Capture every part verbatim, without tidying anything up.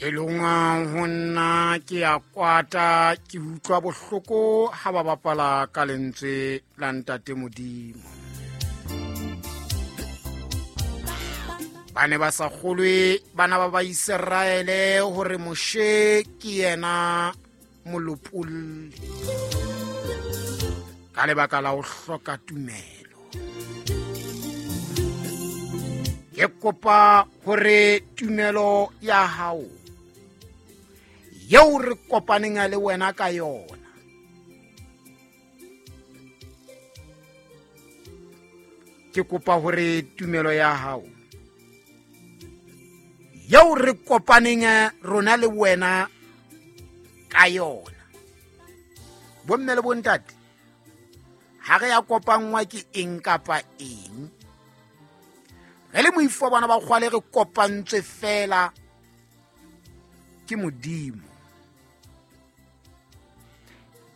Pelong ho nna ke a kwata, ke utlwa bohloko ha ba bapala ka lentswe la Ntate Modimo. Ba ne ba sa kgolwe bana ba ba Iseraele hore Moshe ke yena molopolli ka lebaka la ho hloka tumelo. Ke kopa hore tumelo ya hao yeo re kopaneng le wena ka yona ke kopa hore tumelo ya hao yeo re kopaneng rona le wena ka yona. Bomme le bontate, ha re ya kopanngwa ke eng kapa eng, re le moifo wa bana ba kgwale re kopantswe fela ke Modimo.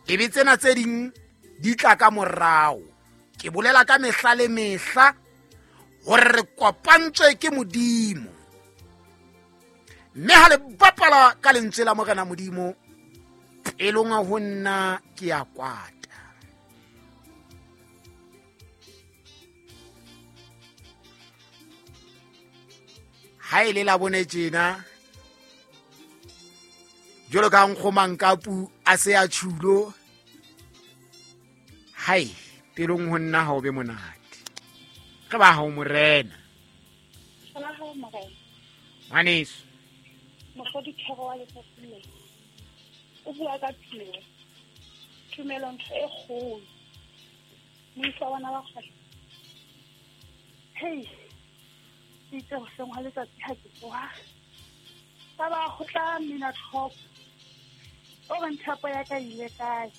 Ebe tsena tse ding di tla ka morao. Ke bolela ka mehla le mehla hore re kopantswe ke Modimo. Mme ha le bapala ka lentswe la Morena Modimo, pelong ho nna ke a kwata. Ha e le la bone tjena, jwalo ka nkgomankapu a se a tjhulo, hai pelong ho nna ha o be monate. Re ba hao Morena. Ba hao Morena. Ngwaneso. Mohlodi thero wa letsatsi le. O bua ka tumelo. Tumelo ntho e kgolo. Moifo wa bana ba kgale. Hey. Itse hoseng ha letsatsi ha ke tsoha. Ba ba ho tla mina tlhoko. O re nthapo ya ka ile kae?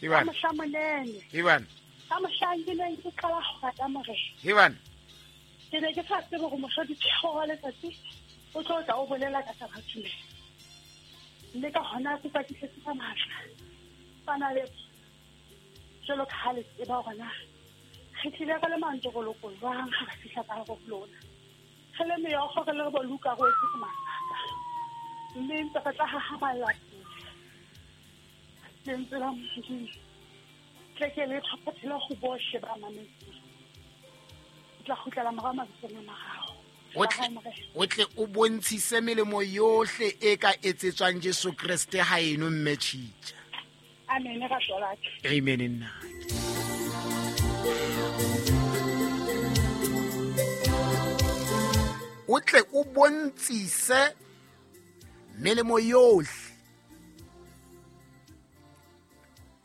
Ivan. Ka mohla monene. Ivan. Ka mohla ke neng ke qala ho rata Morena. Ivan. Ke ne ke sa tsebe hore mohlodi thero wa letsatsi o tlo tla o bolela ka taba tumelo. Mme ka hona ke patisetse ka matla. Bana le jwalo ka ha le tseba hore na re tlile re le mantokoloko jwang ha re fihla ka hare ho lona. Re le meokgo re le bo Luka re wetse ke masaka. Mme ntse re tla hahamalla pele. Lentswe la Modimo tle ke le tlhophothele ho bohle ba mametseng. Ke tla kgutlela morao mabitsong a mararo. O tle o bontshise melemo yohle e ka etsetswang Jesu Kreste ha eno mme tjhitja. Amen ra tlola. Amen nna. O tle o bontshise melemo yohle.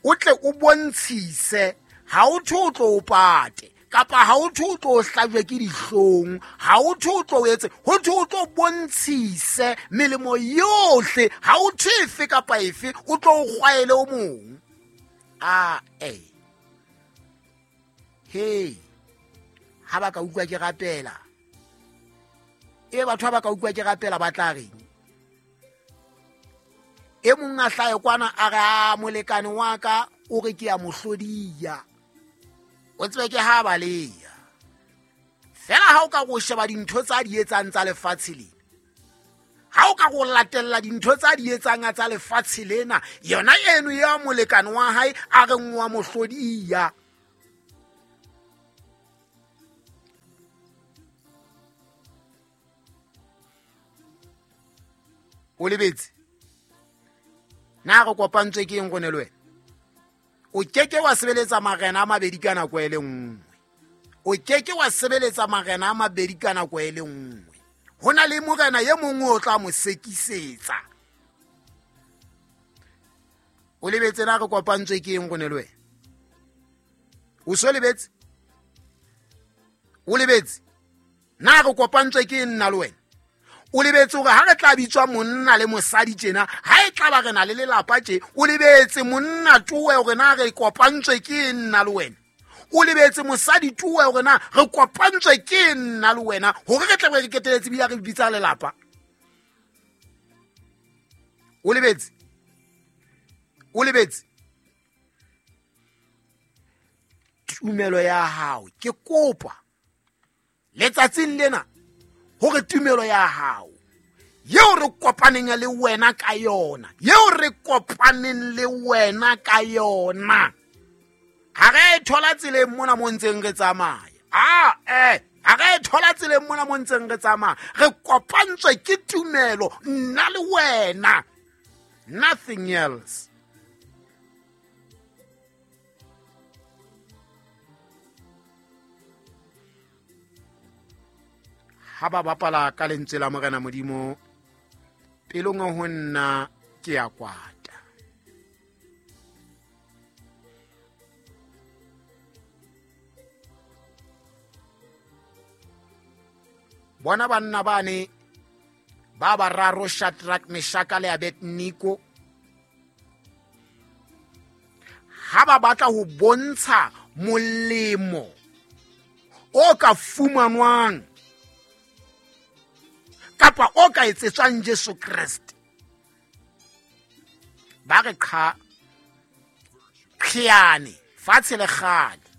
O tle o bontshise ha o thwe o tlo o pate kapa ha o thwe o tlo hlajwe ke dihlong, ha o thwe o tlo etse, ho thwe o tlo bontshise melemo yohle, ha o thwe efe kapa efe o tlo o kgwaele o mong. A eh hey, ha ba ka utlwa ke rapela, e batho ha ba ka utlwa ke rapela ba tla reng? E mong a hlahe kwana a re a molekane wa ka o re ke a mohlodiya. O tsebe ke ha baleya. Fela ha o ka go sheba dintho tsa di etsang tsa lefatshe lena, ha o ka go latella dintho tsa di etsang tsa lefatshe lena, yona eno ya molekane wa hae a re ngwa mohlodiya. O lebetse na re kopantswe ke eng gone le wena? O keke wa sebeletsa marena a mabedi ka nako e le nngwe. O keke wa sebeletsa marena a mabedi ka nako e le nngwe. Ho na le morena e mongwe o tla mo sekisetsa. O lebetse na re kopantswe ke eng gone le wena? O so lebetse? O lebetse? Na re kopantswe ke eng nna le wena? O lebetse hore ha re tla bitswa monna le mosadi tjena, ha e tla ba re na le lelapa tje, o lebetse monna towe hore na re kopantswe ke nna le wena. O lebetse mosadi towe hore na re kopantswe ke nna le wena, hore re tle re keteletse bile re bitsa lelapa. O lebetse? O lebetse? Tumelo ya hao ke kopa letsatsing lena hore tumelo ya hao Yeo re kopaneng le wena ka yona, yeo re kopaneng le wena ka yona. Ha re thola tseleng mona mo ntseng re tsamaya. Ah eh, ha re thola tseleng mona mo ntseng re tsamaya. Re kopantswe ke tumelo nna le wena. Nothing else. Ha ba bapala ka lentswe la Morena Modimo, pelong ho nna ke ya kwata. Bona banna bane ba bararo, Shadrach, Meshach le Abednego, ha ba batla ho bontsha molemo o ka fumanwang kapa o ka etsetswang Jesu Kreste, ba re qha qhiane fatshe le kgale,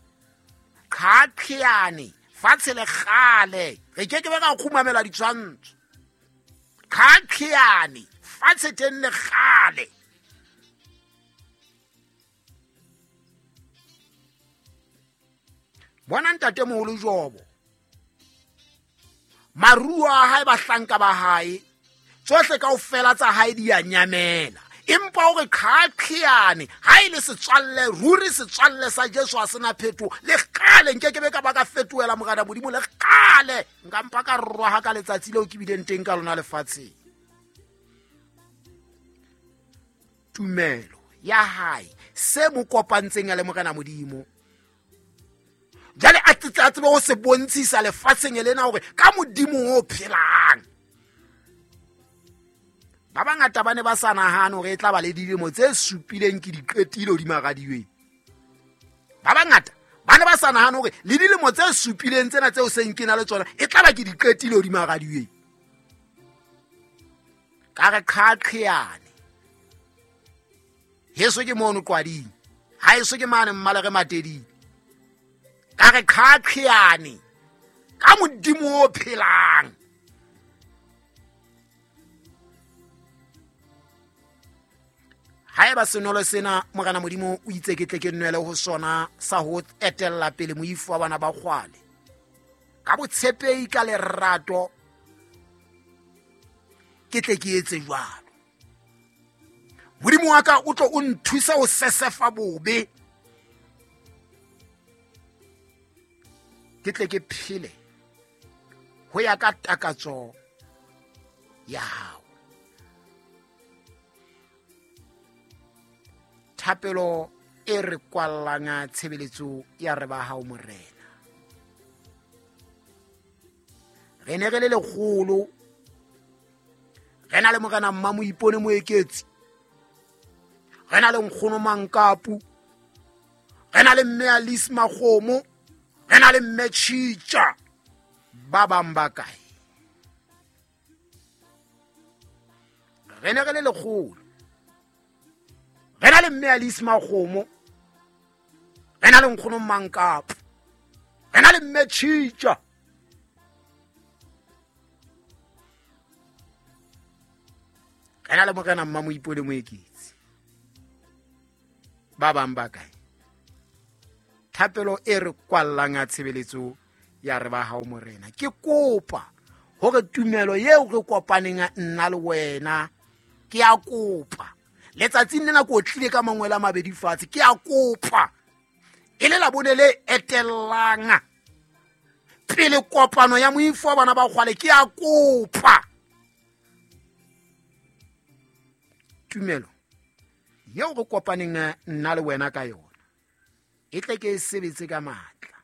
qha qhiane fatshe le kgale, re ke ke be ka kgumamela ditshwantsho. Qha qhiane fatshe teng le kgale. Bona ntatemoholo Jobo, maruo a hae, bahlanka ba hae, tsohle kaofela tsa hae di a nyamela. Empa o re qhaqhiane, ha e le setswalle, ruri setswalle sa Jesu ha sena phetho. Le kgale nke ke be ka ba ka fetohela Morena Modimo, le kgale nka mpa ka rwaha ka letsatsi leo ke bileng teng ka lona lefatsheng. Tumelo ya hae, se mo kopantseng le Morena Modimo, jwale a tsebe ho se bontshisa lefatsheng lena hore ka Modimo o phelang. Ba bangata ba ne ba sa nahane hore e tla ba le dilemo tse supileng ke di qetile hodima radiweng. Ba bangata ba ne ba sa nahane hore le dilemo tse supileng tsena tseo seng ke na le tsona e tla ba ke di qetile hodima radiweng. Ka re qhaqhiane, heso ke mono qwading, ha eso ke mane mmale re mateding. Ka re qhaqhiane ka Modimo o phelang. Haeba senolo sena Morena Modimo o itse ke tle ke nwele ho sona sa ho etella pele moifo wa bana ba kgwale, ka botshepehi, ka lerato, ke tle ke etse jwalo. Modimo wa ka o tlo o nthusa ho sesefa bobe, ke tle ke phele ho ya ka takatso ya hao. Thapelo e re kwallang tshebeletso ya re ba hao Morena. Re ne re le lekgolo, re na le Morena Mmamoipone Moeketsi, re na le Nkgono Mankapu, re na le Mme Alice Makgomo, re na le Mme Tjhitja. Ba bang ba kae? Re ne re le lekgolo, re na le Mme Alice Makgomo, re na le Nkgono Mankapu, re na le Mme Tjhitja. Re na le Morena Mmamoipone Moeketsi. Ba bang ba kae? Thapelo e re kwallang ya tshebeletso ya re ba hao Morena, ke kopa hore tumelo eo re kopaneng nna le wena, ke a kopa letsatsing lena ko tlile ka mangwele a mabedi fatshe, ke a kopa e le labone le etellang pele kopano ya moifo wa bana ba kgwale, ke a kopa tumelo eo re kopaneng nna le wena ka yona e tle ke e sebetse ka matla.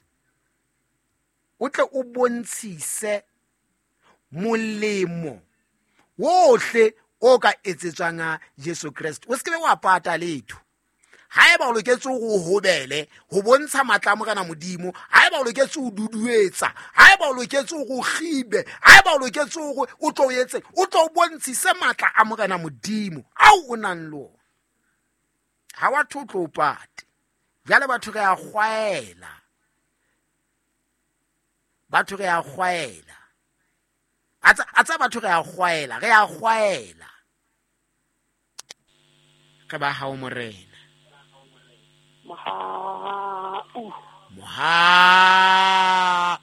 O tle o bontshise molemo wohle o ka etsetswang Jesu Kreste. O se ke be wa pata letho. Haeba o loketse ho hobele ho bontsha matla a Morena Modimo, haeba o loketse ho duduetsa, haeba o loketse ho kgibe, haeba o loketse hore o tlo etse, o tlo bontshise matla a Morena Modimo ao o nang le ona. Ha wa tlo tlo pate. Jwale batho re a kgwaela, batho re a kgwaela. A tsa batho re a kgwaela, re a kgwaela. Re ba hao morena. Mohau. Mohau.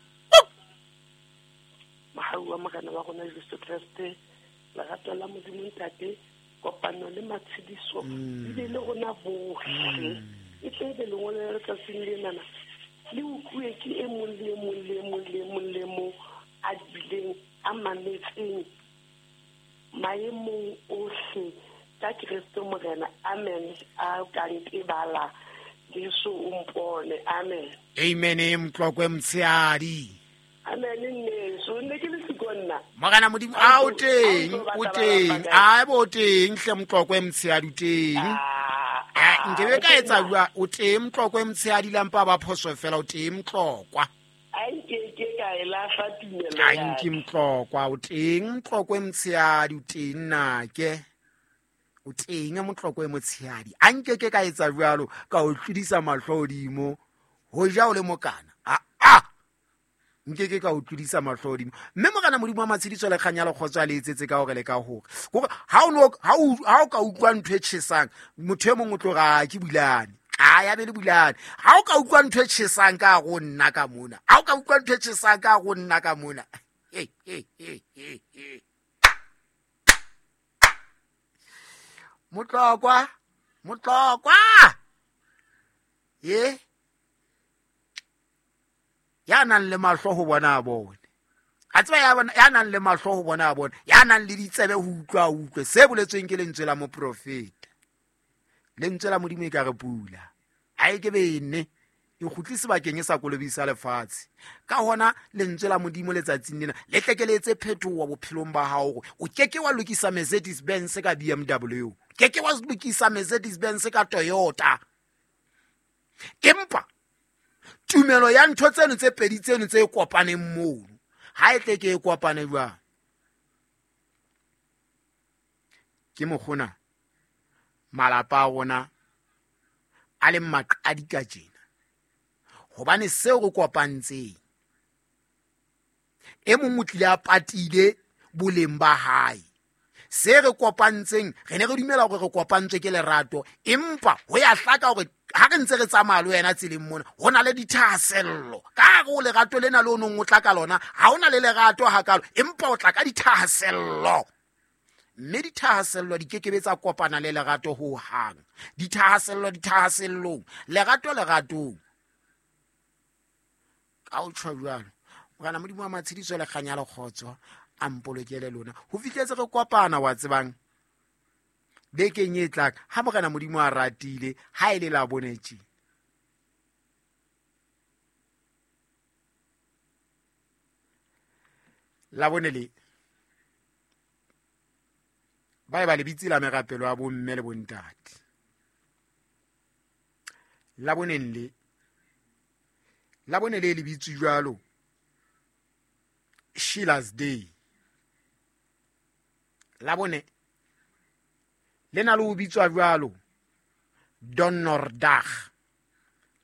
Mohau wa morena wa rona Jesu Kreste, lerato la Modimo Ntate, kopano le matshediso di be le rona bohle. E tle be lengolo la letsatsing lenana le utlwe ke e mong le e mong le e mong le e mong le mong a bileng a mametseng maemong ohle ka Kreste morena. Amen. A ka ntebala Jesu o mpone. Amen. Amen. Mtlokwe mtsheadi. Amen. Nneso nne ke le sikonna. Morena Modimo a o teng, o teng. A bo teng hle Mtlokwe mtsheadi o teng. Eh nkebe ka etsa bua o teng Mtlokwe mtsheadi lampa ba phoso fela o teng Mtlokwa. A nke ke ka e lahla tumelo ya. A nke Mtlokwa o teng Mtlokwe mtsheadi o teng nake. O teng Mtlokwe motshehadi. A nke ke ka etsa jwalo ka o tlodisa mahlo hodimo ho ja o le mokana. A a nke ke ka o tlodisa mahlo hodimo. Mme morena Modimo wa matshediso le kganya le kgotso a le etsetse ka hore le ka hore. Hore ha o no ha o ha o ka utlwa ntho e tjhesang motho e mong o tlo ra ke bulane. A ya be le bulane. Ha o ka utlwa ntho e tjhesang ka go nna ka mona. Ha o ka utlwa ntho e tjhesang ka go nna ka mona. He he he he he. Motlokwa, Motlokwa. Ye. Ya nang le mahlo ho bona a bone. A tseba ya bona ya nang le mahlo ho bona a bone. Ya nang le ditsebe ho utlwa a utlwe. Se boletsweng ke lentswe la moprofeta. Lentswe la Modimo e ka re pula. A e ke bene e kgutlise bakeng e sa kolobisa lefatshe. Ka hona lentswe la Modimo letsatsing lena le tle ke le etse phetoho bophelong ba hao hore o ke ke wa lokisa Mercedes Benz ka B M W. Ke ke wa lokisa Mercedes Benz ka Toyota. Empa tumelo ya ntho tseno tse pedi tseno tse kopaneng mono ha e tle ke e kopane jwang? Ke mokgona malapa a rona a leng maqadi ka tjena. Hobane seo re kopantseng e mong o tlile a patile boleng ba hae. Se re kopantseng re ne re dumela hore re kopantswe ke lerato, empa ho ya hlaka hore ha re ntse re tsamaya le wena tseleng mona ho na le dithahasello. Ka hare ho lerato lena le o nong o tla ka lona ha hona le lerato hakalo, empa o tla ka dithahasello. Mme dithahasello di kekebe tsa kopana le lerato ho hang. Dithahasello dithahasellong, lerato leratong. Ka o tjho jwalo morena Modimo wa matshediso le kganya le kgotso a mpolokele lona ho fihletse re kopana wa tsebang bekeng e tlang ha morena Modimo a ratile ha e le la bonetše. La bone le ba e ba lebitsi la merapelo ya bomme le bontate. La boneng le la bone le lebitsi jwalo Sheila's Day. La bone le na le ho bitswa jwalo Donnerdag.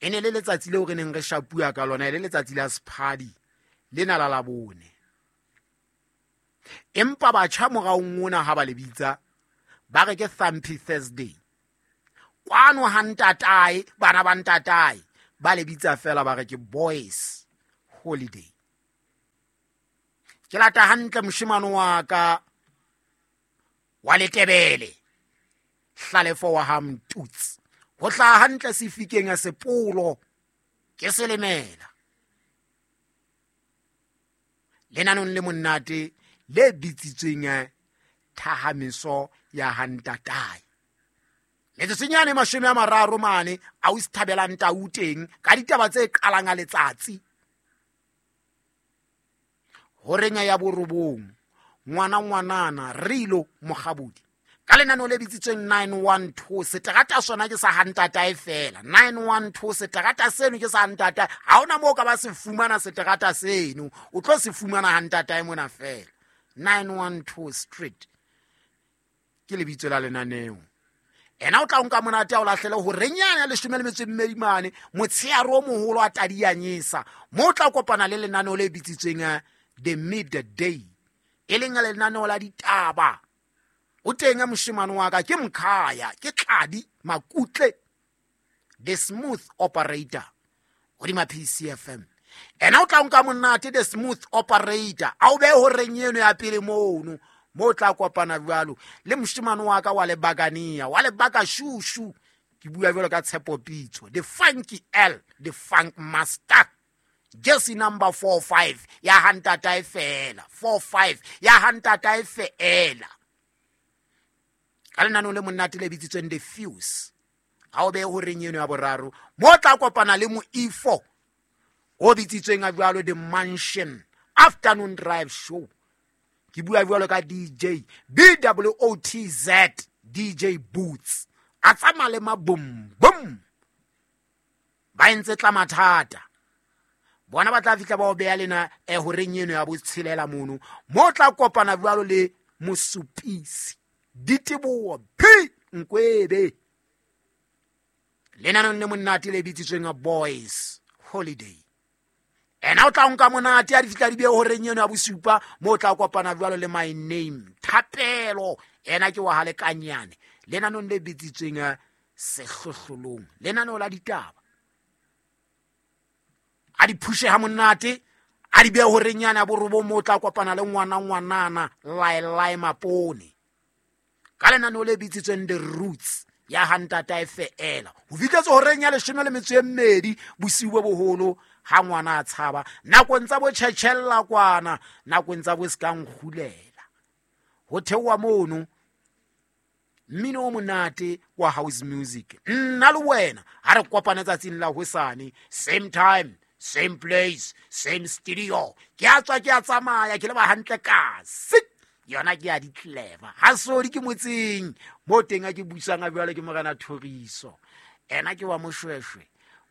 E ne le letsatsi leo re neng re shapua ka lona, e le letsatsi la sephadi lena la la bone. Empa batjha moraong ona ha ba le bitsa ba re ke Thumpy Thursday. Kwano ha ntatae, bana ba ntatae ba le bitsa fela ba re ke Boys Holiday. Ke lata hantle moshemane wa ka wa Letebele Hlalefo wa ha Mtutsi ho hlaha hantle sefikeng a sepolo ke selemela. Lenanong le monate le bitsitsweng thahamiso ya ha ntatae. Metsotsonyane mashome a mararo mane a o sithabelang tau teng ka ditaba tse qalang a letsatsi. Horeng ya borobong ngwana ngwanana Rilo Mokgabudi ka lenaneo le bitsitsweng nine one two seterata sona ke sa ha ntatae fela. nine one two seterata seno ke sa ha ntatae. Ha hona moo ka ba se fumana seterata seno, o tlo se fumana ha ntatae mona fela. nine one two Street ke lebitso la lenaneo. Ena o tla nka monate a o lahlele ho renyana leshome le metso e mmedi mane motsheare o moholo a tadianyesa mo o tla kopana le lenaneo le bitsitsweng The Midday. E leng lenaneo la ditaba. O teng moshemane wa ka ke Mkhaya, ke Tladi Makutle, the smooth operator hodima P C F M. Ena o tla nka monate the smooth operator a o be horeng eno ya pele mono mo tla kopana jwalo le moshemane wa ka wa lebakania wa lebaka shushu. Ke bua jwalo ka Tshepo Pitso, the funky L, the funk master, jersey number four five ya hantata fela, four five ya hantata fela. Ka lenaneo le monate le bitsitsweng The Fuse, ha o be horeng eno ya boraro mo tla kopana le mo E four o bitsitsweng a jwalo The Mansion Afternoon Drive Show. Ke bua jwalo ka D J B W O T Z, D J Boots, a tsamaya le mabom bom ba entse tla mathata. Bona ba tla fihla ba o beya lena e horeng eno ya botshelela mono mo tla kopana jwalo le Mosupisi Diteboho P Nkwebe, lenaneo le monate le bitsitsweng a Boys Holiday. Ena o tla nka monate a di fihla di be horeng eno ya bosupa mo tla kopana jwalo le My Name Thapelo, ena ke wa halekanyane, lenaneo le bitsitsweng Sehlohlolong, lenaneo la ditaba. A di phushe ha monate a di be horeng yana ya borobong mo tla kopana le ngwana ngwanana Laelai Mapone ka lenaneo le bitsitsweng The Roots ya hantata e feela. Ho fihletse horeng ya leshome le metso e mmedi bosiu bo boholo ha ngwana a tshaba nakong tsa bo tjhetjhella kwana, nakong tsa bo ska nkgulela. Ho theoha mono mmino o monate wa house music. Nna le wena ha re kopane tsatsing la hosane, same time, same place, same studio. Ke a tswa ke a tsamaya ke le ba hantle kasi yona ke ya di clever. Ha sodi ke motseng mo teng a ke buisang a jwale ke morena Thoriso. Ena ke wa Moshweshwe,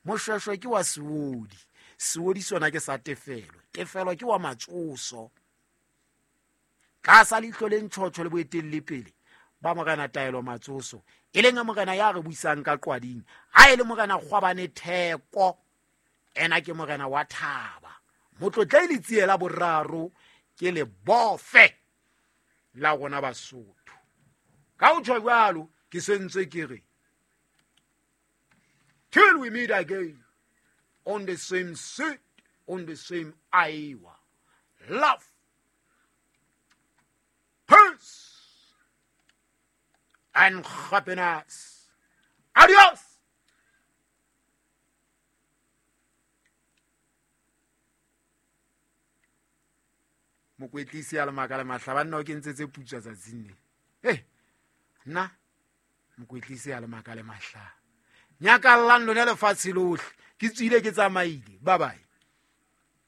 Moshweshwe ke wa Seodi, Seodi sona ke sa Tefelo, Tefelo ke wa Matsoso. Ka sa leihlo le ntjhotjho le boetelle pele ba morena Taelo Matsoso, e leng morena ya re buisang ka qwading. Ha e le morena Kgwabane Theko, ena ke morena wa Thaba. Motlotle le tsiela boraro ke le bofe la rona Basotho. Ka ho tjho jwalo ke sentse ke re till we meet again on the same seat, on the same hour. Love, peace and happiness. Adios. Mokwetlisi a le maka le mahla banna o kentse tse putswa tsatsing le. Eh, nna mokwetlisi a le maka le mahla. Nyakallang lona lefatshe lohle. Ke tswile ke tsamaile. Bye bye.